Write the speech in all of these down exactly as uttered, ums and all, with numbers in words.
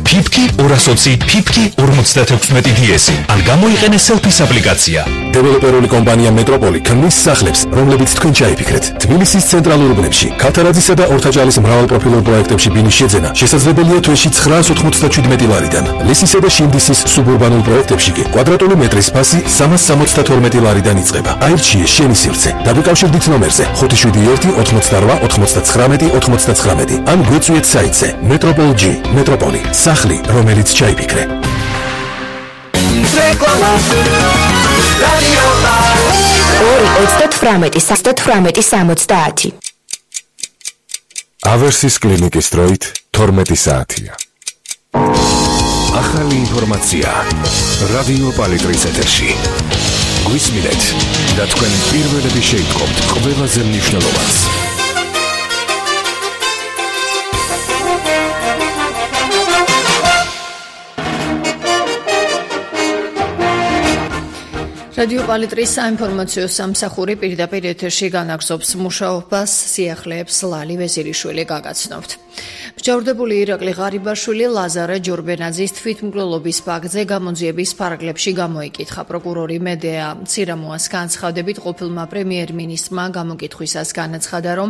ფიფკი ორას ოცი ფიფკი ორმოცდათექვსმეტი დი-ესი ან გამოიყენე selfies აპლიკაცია. დეველოპერული კომპანია მეტროპოლი ქმნის სახლებს, რომლებიც თქვენ ჩაიფიქრეთ. თბილისის ცენტრალურ უბნებში, ქათარაძისა და ორთაჭალის მრავალპროფილურ პროექტებში ბინის შეძენა შესაძლებელია თვეში ცხრაას ოთხმოცდაშვიდმეტი ლარიდან. ლისისა და შინდისის სუბურბანულ პროექტებში კი კვადრატული მეტრის ფასი სამას სამოცდათორმეტი ლარიდან იწყება. აირჩიე შენი სივრცე. დაგიკავშირდით ნომერზე ხუთი შვიდი ერთი ოთხმოცდარვა ოცდაცხრამეტი ოცდაცხრამეტი ან გვეწვიეთ საიტზე მეტროპოლ ჯი მეტროპოლი სახლი, რომელიც ჩაიფიქრე. ორი ოცდათვრამეტი ოცდათვრამეტი სამოცდაათი ავერსის კლინიკის დროით თორმეტი საათია. ახალი ინფორმაცია რადიო პალიტრის ეთერში. გვისმინეთ და თქვენ პირველები შეიტყობთ ყველაზე მნიშვნელოვანს. რადიო პალიტრის საინფორმაციო სამსახური პირდაპირ ეთერში განაგრძობს მუშაობას, სიახლეებს ლალი ვეზირიშვილი გაგაცნობთ. მსჯავრდებული ირაკლი ღარიბაშვილი ლაზარე ჯორბენაძის თვითმკვლელობის ფაქტზე გამოძიების ფარგლებში გამოიკითხა. პროკურორი მედეა ცირამოას განცხადებით ყოფილმა პრემიერ-მინისტრმა გამოკითხვისას განაცხადა, რომ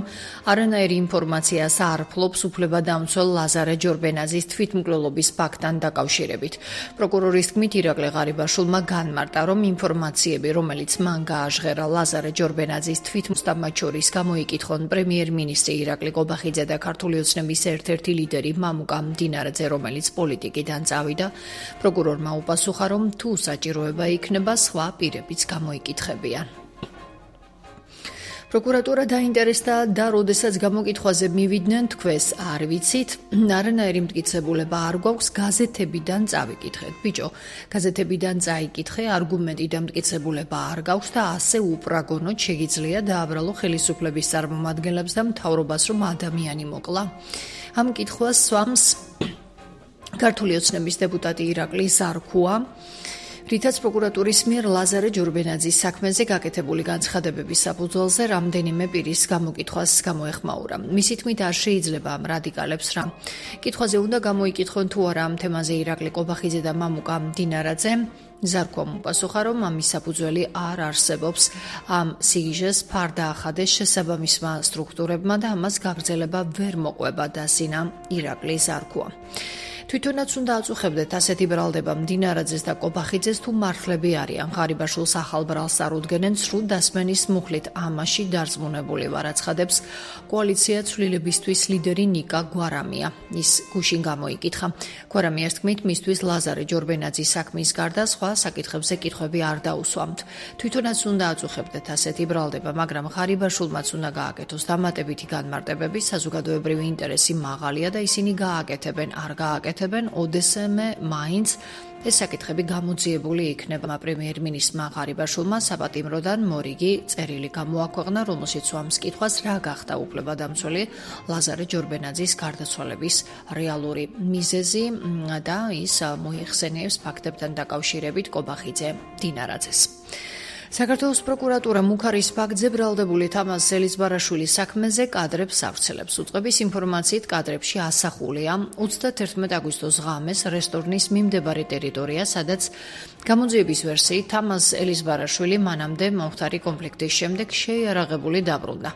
არანაირი ინფორმაციას არ ფლობს უფლებადამცველ ლაზარე ჯორბენაძის თვითმკვლელობის ფაქტთან დაკავშირებით. პროკურორის თქმით, ირაკლი ღარიბაშვილმა განმარტა, რომ ინფორმაციები, რომელიც მან გააჟღერა ლაზარე ჯორბენაძის თვითმკვლელობამ მათ შორის გამოიკითხონ პრემიერ-მინისტრი ირაკლი ყობახიძე და ქართული ოცნების ერთ-ერთი ლიდერი მამუკა მდინარაძე, რომელიც პოლიტიკიდან წავიდა. პროკურორმა უპასუხა, რომ თუ საჭიროება იქნება, სხვა პირებიც გამოიკითხებიან. პროკურატურა დაინტერესდა და როდესაც გამოკითხვაზე მივიდნენ, თქვენს არ ვიცით, არანაირი მტკიცებულება არ გვაქვს, გაზეთებიდან წავიკითხეთ. ბიჭო, გაზეთებიდან წაიკითხე, არგუმენტი და მტკიცებულება არ გაქვს და ასე უპრაგონოდ შეგიძლია დააბრალო ხელისუფლების წარმომადგენლებს და მთავრობას, რომ ადამიანი მოკლა. ამ კითხვას სვამს ქართული ოცნების დეპუტატი ირაკლი ზარქუა, რითაც პროკურატურის მიერ ლაზარე ჯორბენაძის საქმეზე გაკეთებული განცხადებების საფუძველზე რამდენიმე პირის გამოკითხვას გამოეხმაურა. მისი თქმით, არ შეიძლება ამ რადიკალებს რა კითხვაზე უნდა გამოიკითხონ თუ არა ამ თემაზე ირაკლი ყობახიძე და მამუკა მდინარაძე. ზარქუამ უპასუხა, რომ ამის საფუძველი არ არსებობს. ამ სიგიჟეს ფარდა ახადეს შესაბამისმა სტრუქტურებმა და ამას გაგრძელება ვერ მოყვება, დასინა ირაკლი ზარქუა. თვითონაც უნდა აწუხებდეთ ასეთი ბრალდება მდინარაძეს და ყობახიძეს თუ მართლები არიან. ღარიბაშვილს ახალ ბრალს წარუდგენენ სრულ დასმენის მუხლით. ამაში დარწმუნებული ვარ, აცხადებს კოალიცია ცვლილებისთვის ლიდერი ნიკა გვარამია. ის გუშინ გამოიკითხა. გვარამიას თქმით, მისთვის ლაზარე ჯორბენაძის საქმის გარდა სხვა საკითხებზე კითხვები არ დაუსვამთ. თვითონაც უნდა აწუხებდეთ ასეთი ბრალდება, მაგრამ ღარიბაშვილმაც უნდა გააკეთოს დამატებითი განმარტებები, საზოგადოებრივი ინტერესი მაღალია და ისინი გააკეთებენ, არ გააკეთებენ. ოდესმე მაინც ეს საკითხები გამოძიებული იქნება. პრემიერ-მინისტრმა ღარიბაშვილმა საპატიმროდან მორიგი წერილი გამოაქვეყნა, რომელშიც სვამს კითხვას, რა გახდა უფლებადამცველი ლაზარე ჯორბენაძის გარდაცვალების რეალური მიზეზი და ის მოიხსენიებს ფაქტებთან დაკავშირებით ყობახიძე მდინარაძეს. საქართველოს პროკურატურა მუქარის ფაქტზე ბრალდებული თამაზ ელიზბარაშვილის საქმეზე კადრებს ავრცელებს. უწყების ინფორმაციით კადრებში ასახულია ოცდათერთმეტი აგვისტოს ღამეს რესტორნის მიმდებარე ტერიტორია, სადაც გამოძიების ვერსიით თამაზ ელიზბარაშვილი მანამდე მომხდარი კონფლიქტის შემდეგ შეიარაღებული დაბრუნდა.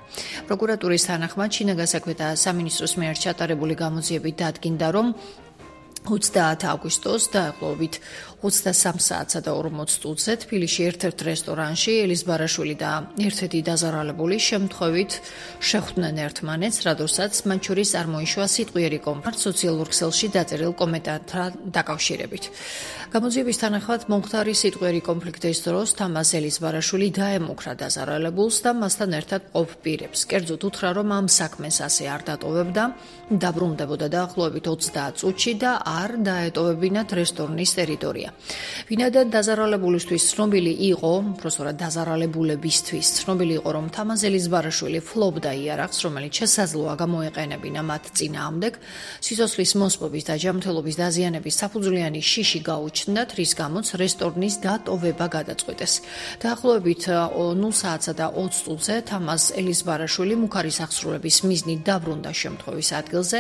პროკურატურის თანახმად შინაგან საქმეთა სამინისტროს მიერ ჩატარებული გამოძიებით დადგინდა, რომ ოცდაათი აგვისტოს დაახლოებით ოცდასამ საათსა და ორმოც წუთზე თბილისში ერთ-ერთ რესტორანში ელიზბარაშვილი და ერთ-ერთი დაზარალებული შემთხვევით შეხვდნენ ერთმანეთს, რადგანაც მათ შორის წარმოიშვა სიტყვიერი კონფლიქტი სოციალურ ქსელში დაწერილ კომენტართან დაკავშირებით. გამოძიების თანახმად მომხდარი სიტყვიერი კონფლიქტის დროს თამაზ ელიზბარაშვილი დაემუქრა დაზარალებულს და მასთან ერთად მყოფ პირებს. კერძოდ უთხრა, რომ ამ საქმეს ასე არ დატოვებდა, დაბრუნდებოდა დაახლოებით ოცდაათ წუთში და არ დაეტოვებინათ რესტორნის ტერიტორია. ვინაიდან დაზარალებულისთვის ცნობილი იყო, უბრალოდ დაზარალებულებისთვის ცნობილი იყო, რომ თამაზ ელიზბარაშვილი ფლობდა იარაღს, რომელიც შესაძლოა გამოეყენებინა მათ წინააღმდეგ, სიცოცხლის მოსპობის და ჯანმრთელობის დაზიანების საფუძვლიანი შიში გაუჩნდათ, რის გამოც რესტორნის დატოვება გადაწყვეტეს. დაახლოებით ნულ საათსა და ოცდაათ წუთზე თამაზ ელიზბარაშვილი მუქარის აღსრულების მიზნით დაბრუნდა შემთხვევის ადგილზე,